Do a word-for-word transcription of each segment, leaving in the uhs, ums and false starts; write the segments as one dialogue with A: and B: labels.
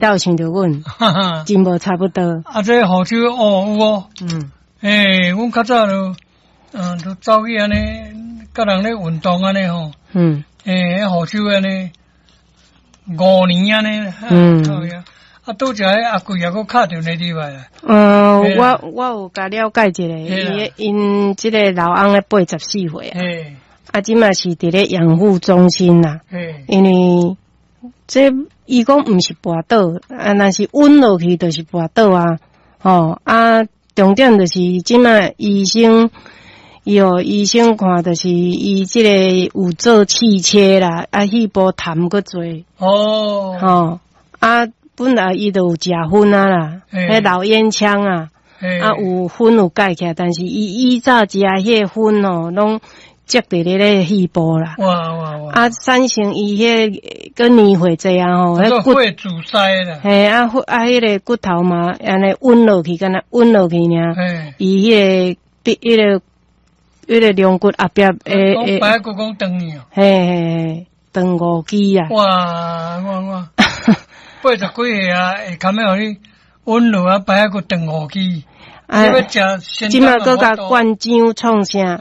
A: 鬥像著阮，真無差不多。
B: 啊，這護手哦有哦，
A: 嗯，
B: 欸，阮較早就，嗯，就走去按呢，佮人咧運動按呢吼，
A: 嗯，
B: 欸，護手按呢，五年按呢，
A: 嗯，
B: 啊，拄才彼阿貴也閣敲電話入來啦。
A: 呃，我我有共了解一下，伊𪜶這个老翁咧八十四歲啊，啊，這馬是佇咧養護中心啦，因為這伊講毋是跋倒，啊，若是穩落去就是跋倒啊，吼啊，重點就是這馬醫生，伊哦醫生看就是伊這個有做氣切啦，啊，肺部痰閣濟，
B: 哦，
A: 吼啊。本來伊就有食薰啊啦，彼老煙槍啊，啊有薰有蓋起來，但是伊以早食彼個薰哦，攏積佇咧咧肺部啦。
B: 哇哇哇！
A: 啊，產生伊彼個閣年歲濟啊吼，彼
B: 骨阻塞啦。
A: 嘿啊，啊，彼个骨頭嘛，按呢穩落去，敢若穩落去爾。伊彼个彼个彼个龍骨後壁會會。
B: 白骨講斷去哦。
A: 嘿嘿嘿，斷五支啊！
B: 哇哇哇！八十幾歲啊，會堪欲予你穩落啊，白骨斷五支。
A: 啊，這馬閣共灌漿創啥？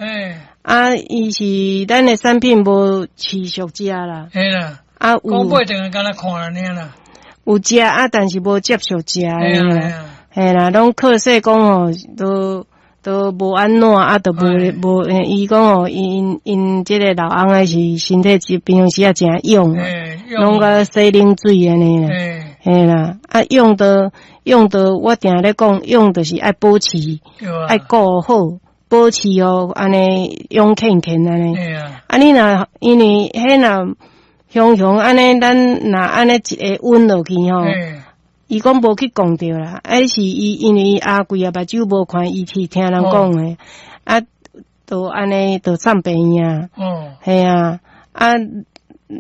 A: 啊，伊是咱的產品無持續食啦。
B: 嘿啦。
A: 啊，有。
B: 講八斷敢若看了爾啦。
A: 有食啊，但是無接續食啦。嘿啦，攏靠勢講吼，都都無按怎啊，都無無。伊講吼，𪜶𪜶這个老翁仔是身體是平常時也誠勇，攏共洗冷水按呢啦。嘿啦，啊勇著勇著，我定咧講，勇就是愛保持，愛顧好，保持哦，按呢勇健健按呢。啊，你若因為彼若雄雄按呢，咱若按呢一个穩落去吼，伊講無去講著啦，啊是伊因為阿貴啊目睭無看，伊是聽人講的，啊，就按呢就送病院。嘿啊，啊，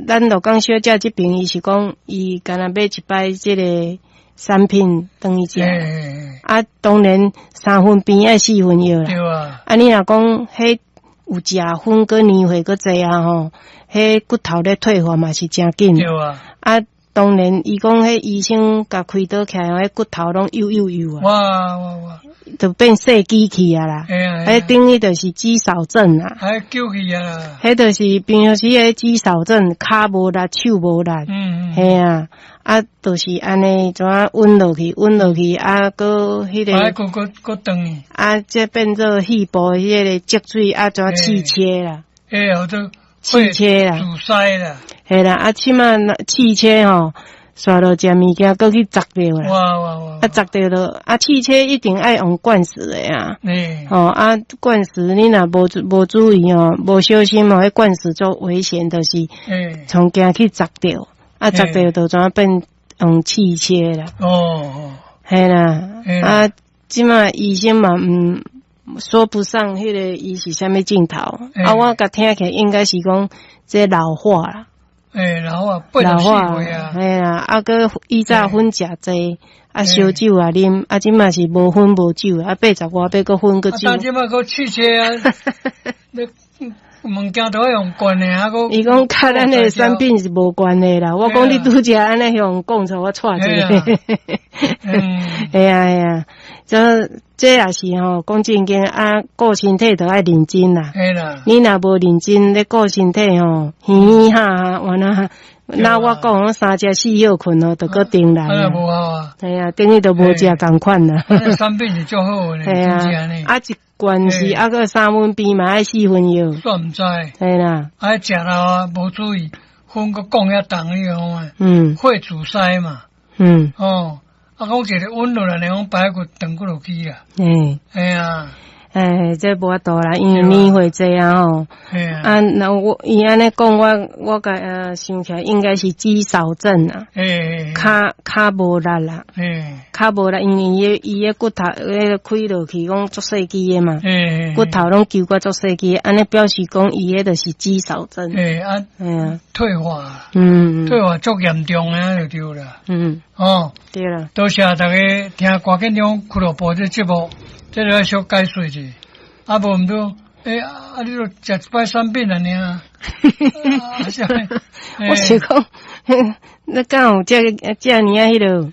A: 咱鹿港小姐這邊，伊是講伊敢若買一擺這个產品轉去食，啊，當然三分病愛四分藥啦。
B: 對啊。
A: 啊，你若講彼有食薰閣年歲閣濟啊吼，彼骨頭咧退化嘛是誠緊。
B: 對啊。
A: 啊，當然伊講彼醫生共開刀起來，彼骨頭攏幼幼幼啊。
B: 哇哇哇！
A: 就變細機器啊啦。彼等於就是肌少症啊。
B: 還救去啊！
A: 彼就是平常時彼肌少症，跤無力，手無力。
B: 嗯嗯。
A: 嘿啊，啊，就是按呢，怎啊穩落去，穩落去，啊，閣彼个。
B: 啊，閣閣閣斷去。
A: 啊，這變做肺部彼个積水，啊，怎氣切啦？
B: 欸，好做
A: 氣切啦。
B: 阻塞啦。
A: 嘿啦，啊，這馬氣切吼，煞落食物件，閣去砸著啦。
B: 哇哇哇！
A: 啊，砸著了，啊，氣切一定愛用灌食的啊。
B: 嗯。
A: 吼啊，灌食你若無無注意吼，無小心吼，彼灌食足危險，就是，從驚去砸著，啊，砸著就怎變用氣切啦。
B: 哦。
A: 嘿啦，啊，這馬醫生嘛，毋說不上彼个伊是啥物症頭，啊，我共聽起來應該是講這老化啦。
B: 欸，老化，八十四歲啊。
A: 嘿啊，啊，閣以早薰食濟，啊，燒酒啊啉，啊，這馬是無薰無酒，啊，八十外歲閣薰閣酒。
B: 啊，這馬閣氣切啊，你物件都愛用灌的啊，閣。
A: 伊講佮咱的產品是無關的啦，我講你拄才按呢向講出我掣一个。嘿啊嘿啊，這這也是吼，講正經啊，顧身體著愛認真啦。
B: 嘿啦。
A: 你若無認真咧顧身體吼，嘻嘻哈哈，完了，那我講三食四歇睏哦，就閣重來。
B: 啊，無效啊。
A: 嘿啊，等於都無食仝款啦。
B: 產品是足好的，
A: 嘿啊，啊一罐是啊閣三分病嘛愛四分藥。
B: 煞毋知。
A: 嘿啦。
B: 啊，食了啊，無注意，薰閣降遐重，你講
A: 嗯。
B: 血阻塞嘛。
A: 嗯。
B: 哦。啊，講一个穩落來，講白骨斷骨落去啦。
A: 嗯。
B: 嘿啊。
A: 哎，這無法度啦，因為年歲濟啊吼。啊，那我伊按呢講，我我共啊想起來應該是肌少症啊。跤跤無力啦。跤無力，因為伊伊的骨頭彼个開落去，講足細支的嘛。骨頭攏揪甲足細支，按呢表示講伊彼就是肌少症。
B: 欸啊，
A: 啊，
B: 退化。
A: 嗯。
B: 退化足嚴重的就對啦。
A: 嗯。
B: 哦。
A: 對啦。
B: 多謝大家聽歌見中俱樂部這節目。這個愛小解說者，啊無毋著，欸，啊你著食一擺產品爾。
A: 我是講，那敢有遮遮爾仔彼落？